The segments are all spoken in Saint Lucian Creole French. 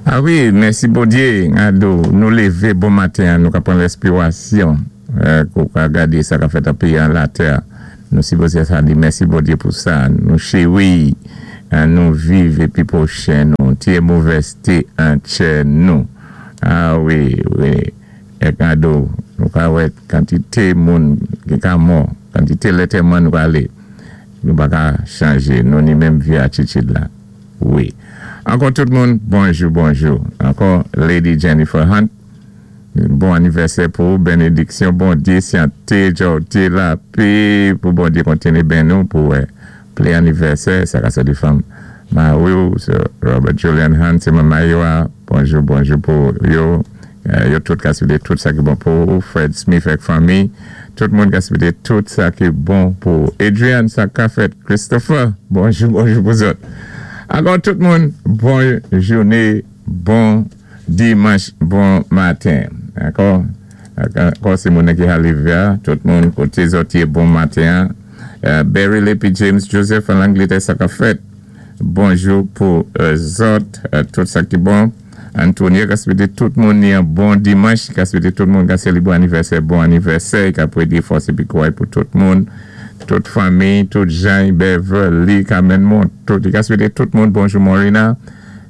A wi, mèsi Bondyé, ado, nou lévé bon maten an, nou ka pran lèspiwasyon, kou ka gadé sa ka fèt an péyi an latè, nou sipozé sa di mèsi Bondyé pou sa, nou chéwi, nou viv épi pwochen nou, tiyé movèzté an tchè nou. A wi, wi, èk ado, nou ka wè kantité moun ki ka mò, kantité lètèman nou pralé, nou pa ka chanjé, nou ni menm vyé atitid la. Wi. Ankò tout moun, bonjou bonjou. Ankò Lady Jennifer Hunt, bon anivèsè pou ou, benediksyon Bondye, syante, jòwte, lapé, pou Bondye kontinye benni w pou wè plen anivèsè, sa ka sòti fanm mari w, Sir Robert Julian Hunt, se manman yo a, bonjou bonjou pou yo. Yo tout ka swete tout sa ki bon pou ou Fred Smith ak fanmi tout moun ka swete tout sa ki bon pou ou Adrian sa ka fèt Christopher bonjou bonjou pou zòt ankò tout moun bon joune bon dimanch bon maten ankò ankò se moun ki halive a tout moun kote zòt ye bon maten an Beryl epi James Joseph an Langletè sa ka fèt. Bonjou pou zòt tout sa ki bon. Antonie ka swete tout moun yon bon dimanch, ka swete tout moun ka selebre anivèsè bon anivèsè, ka prede fòs epi kouray pou tout moun, tout fanmi, tout Jany, Beverly, Carmen Montout, li ka swete tout moun bonjou Morina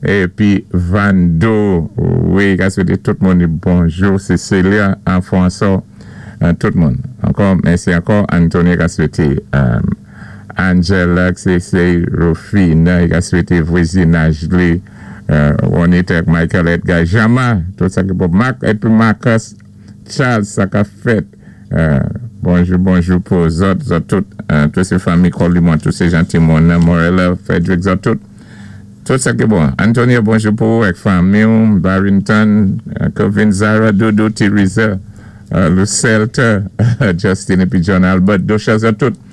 epi Vando wi ka swete tout moun yon bonjou Cecilia François tout moun ankò mèsi ankò Antonie ka swete. Angela Cece Rofina li ka swete vwezinaj li Ronita ak Michael Edgar Jama tout sa ki bon Marc epi Marcus Charles sa kap fèt bonjou bonjou pou zòt zòt tout tout se fanmi Colimon tout se jan timoun nan Morella Frederick zòt tout tout sa ki bon Antonio bonjou pou ou ak fanmi w Barrington Kevin Zara Doudou Theresa Lucelta Justin epi John Albert Docha zòt tout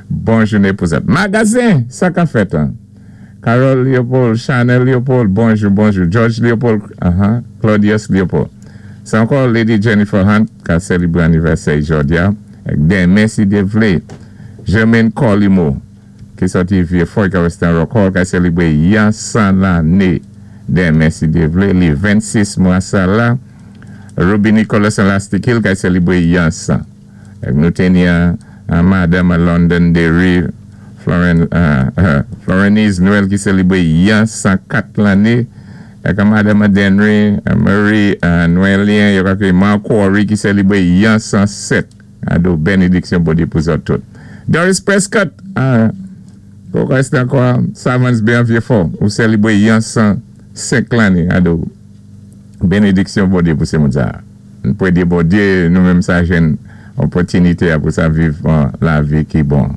Bon jounen pou zòt. Magazen! Sa ka fèt an? Carole Leopold, Chanel Leopold, bonjou, bonjou. George Leopold, aha, Claudius Leopold. Se ankò Lady Jennifer Hunt ka selebre anivèsè i jòdi a, ak denmen si Dye vle. Germaine Colimo, ki sòti Vye Fò, ki reste an Rock Hall, ka selebre yan 100 lane denmen si Dye vle, li 26 mwa sa la. Ruby Nicholas an Lastik Hill ka selebre yan 100. Nou te ni an madanm an London Derry Florenise Noël ki selebre yan 104 lanne ak an madanm an Denry Marie Noëlien yo ka Mark Quarry ki selebre yan 107 ado benediksyon Bondye pou zòt tout Doris Prescott Kòkòs Lakwa Savans Bay an Vyefò ou selebre yan 105 lanne ado Benediksyon Bondye pou se moun sa a. N prede Bondye nou menm sa jwenn opòtinite a pou sa viv lavi ki bon.